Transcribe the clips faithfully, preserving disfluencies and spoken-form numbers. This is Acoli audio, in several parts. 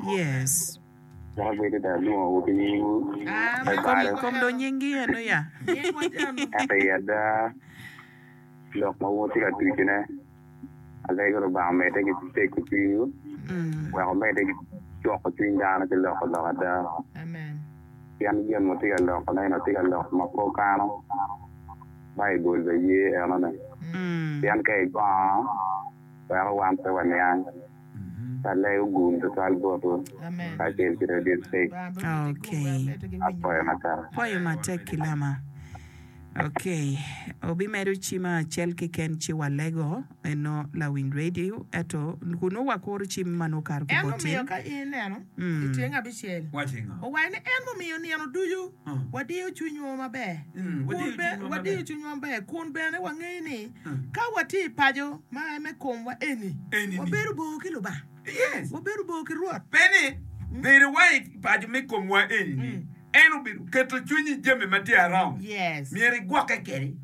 Yes. Dok abedo dong alwongowu ki nyingwu Ah, me meno Kom balo. kom dong nyingi eno ya. Nyingwa janu. Ento i ada, lok ma wun wutye ka tucone, alego Lubanga omedde ki tego cwinywu, Mm. wek omedde ki cuko cwiny dano ki loko lok ada. Amen. Pien gin ma wutye ka lokone-ni, wutye ka lok ma pe wukano, Baibul bene ye enone. Mm. Pien ka igongo, weko wan pe waniang. Alego gum tutwal botwu Amen. kacel ki Radio State. Lubanga bene omedde ki gum, wek Okay. omedde ki winyo Apwoyo wa. matek. Pwoyo matek Kilama. Okay. Obimedo cim acel keken ci walego eno lawiny radio eto kunu wakuro cim ma nongo okato ki En bot omiyo in. ka in ineno i Mm. tyeng abicel, Waci ngo? owaco ni en mumiyo nino ducu Uh. wadiyo cwinywa maber, Mm, kun wadiyo be cwinywa wadiyo maber. cwinywa maber, kun bene wangeyo ni Mm. ka watye i paco ma me komwa eni, Eni ni. wabedo bor ki Lubanga, Yes. wabedo bor ki Rwot. Pe ni bedo wa i paco me komwa eni ni Mm. en obedo keto cwinyi i jami ma tye around. Yes. Myero igwokke kede.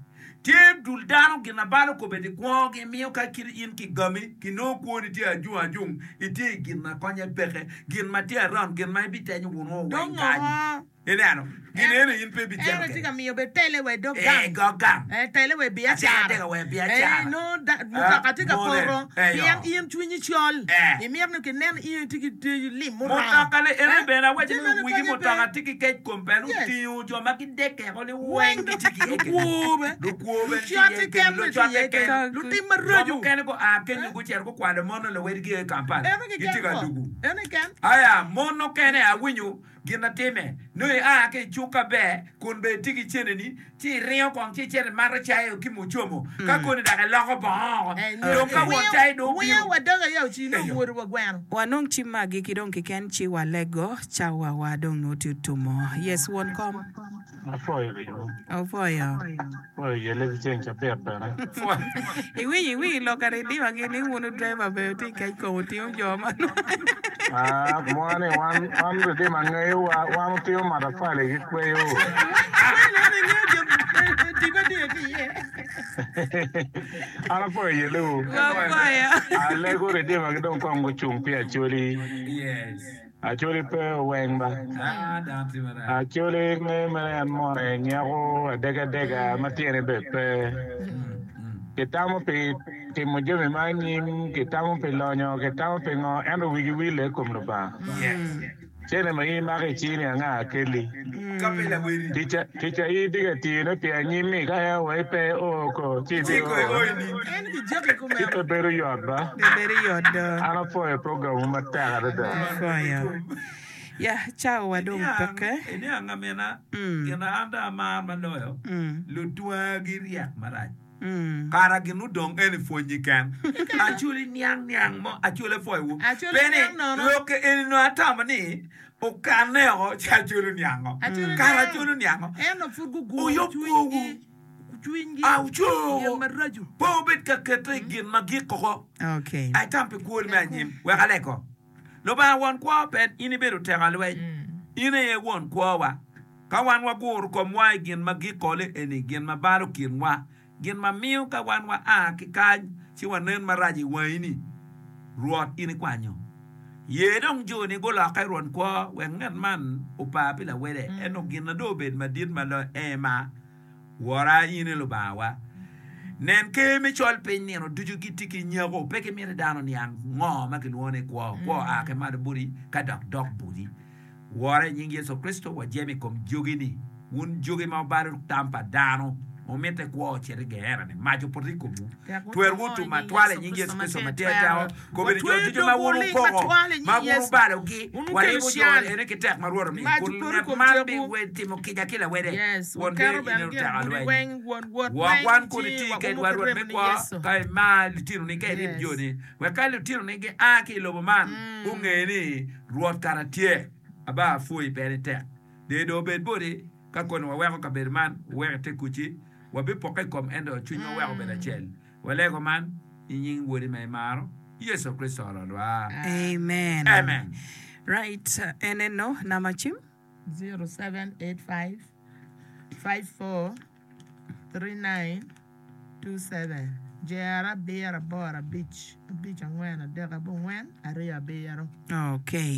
Tye dul dano gin abalo kobedi kwogi miyo ka kit in kigami kinongo kwoni tye ajung ajung itye i gin ma konye peke gin ma tye around gin ma ibitenyo wunu weng Dong kany. ngo? Ineno gin En eno in pe en ibicito tye kede. ka miyo be tele wa i dog Eh, gang. dog gang. Eh, tele wa i Ateka biacara. ateka wa i Eh, biacara. nongo da- Ah, mutoka tye ka mone. poto Eh, pien yo. in cwinyi col. Eh. Imito ni kinen in itye ki tye lim muromo. Mutoka le ene Eh, bene awaco jami ni meno wigi konye pe. mutoka tye ki kec kom bene Yes. otingo jo ma gidekeko ni Weng weng gitye ki iye kene. lukwo be. Lukwo bene tye Lucot iye keken kene, bene tye lucot iye keken. kene. Lutim Jo maraco. mukene gua kenyo Eh? gucito gukwalo mon luwedgi i Kampala. Eno Gitye keken ka ko. dugu. Eno keken. Aya, mon mukene awinyo gin atime. Nongo ia ki i cuk aber, kun bene itye ki ceneni, ci iringo kong ci icito imato cai ki mucomo. Ka koni dok iloko bongo. Eh, Dong ka won wiyo cai dong wiyo obino. wa doga ya ocino Eyo. omwodo wa gweno. Wanong cim magi ki dong keken ci walego cawa wa dong nongo tye otumo. Yes, won kom. Apwoyo limo. Opwoyo. Apwoyo yelle ki ceng cabit bene. Iwinyo iwinyo lok ka redio gi ni wunu driver bene tye kec kom otingo jo man. Ah, mwa ni wan wan redio ma ngeyo wa wan otingo matafali ki kweyo. Kwelo ene ngeyo jo tipo tye ki iye. An apwoyo yelle wu. Wapwoyo. Alego redio ma gidong kong gucung pi Acholi. Yes. Acholi pe oweng ba. Ah, dano tye marac. Acholi nge mere en mone nyeko adegadega ma tyene be pe. Mm, mm. Kitamo pi timo jami ma anyim, kitamo pi lonyo, kitamo pi ngo, ento wigi wile i kom Lubanga. Yes. Cene ma in imako i cini anga kelli. Ka pe laweri. Tica tica in itye ka tiyone pi anyim-mi ka en wai pe o ko ci Ci ibi ko i o. oini. En kijaki Ci kumeno. pe bedo yot ba. Pe bedo yot do. An apwoyo programwu matek adada. Apwoyo. Ya, cawa wa dong Iniang, peke. iniang amina, Mm. gin an dong amaro maloyo, Mm. lutwagi ryek marac. Mm. Kara gin odong en i pwonyi ken. Acholi niang niang mo, acholi apwoyo wu. Acholi Pe ni, niang nono. lok eni nongo atamo ni, okanne oko ci acholi oniango. Acholi Kara niang. acholi oniango. Ento pud guguro Uyub kwowu. cwinygi. Cwinygi. Ah, uco. Gin maraco. Pe wubed ka kete i gin ma gik oko. Okay. Ai tam pi kwoni me anyim. Wek aleko. Lubanga won kwo pe in ibedo teko alweny. In aye won kwowa. Ka wan waguro komwa i gin ma gikole eni, gin ma balo kinwa, gin ma miyo ka wan wa a ki kany ci wanen marac i wangi ni, Rwot in ikwanyo. Ye dong joni gulokke Rwot kwo wek ngat man opa pi lawede, ento gin na dong obed madit ma loyo en ma Wora in i Lubangawa. Nen ker me col piny nino ducu gitye ki nyeko, pe gimito dano niang ngo ma kilwongo ni kwo. Kwo oa ki malo boti ka dok dok boti. Wora i nying Yecu Kricito, wajemo i kom jogi-ni. Wun jogi ma wubalo tam pa dano, wumitte kwo ocit i Geena-ni, mac opoto i komwu. Tek Twerwu wuto i otum nying matwal i Yecu nying Kricito Yecu ma Kricito tye ma tye twero. teko. Kobedo jo Watweyo ducu ma dogwu wun ling wukoko, matwal i ma nying wun Yecu. wubalogi, Wun wukelo waribo jo can. ene ki tek ma Rwot omiyo. Mac Kun opoto i ngat kom man tyekwu. bitimo kica ki lawede, Yes, won wuketo bedo in bene gin oteko gudi lweny. weng, won wot Gwok weng wan kun ci iti waumo kedwa ki Rwot remo me ni kwo, Yecu. ka imar litinoni, ka irib Yes. joni, wek ka litinoni gia ki i lobo man, Mm. gunge ni Rwot kara tye. Aba apwoyi pe ni tek. Deyo dong obed boti, ka koni waweko kabedo man, wuwek ite kuci, wabipokke i kom ento cwinywa wek obed acel. Walego man i nying Wodi ma imaro, Yecu Kricito Rwotwa. Amen. Amen. Right, eneno nama cim. zero seven eight five five four three nine two seven Jero abiro aboro abic abic angwen adek abongwen aryo abiro. Okay.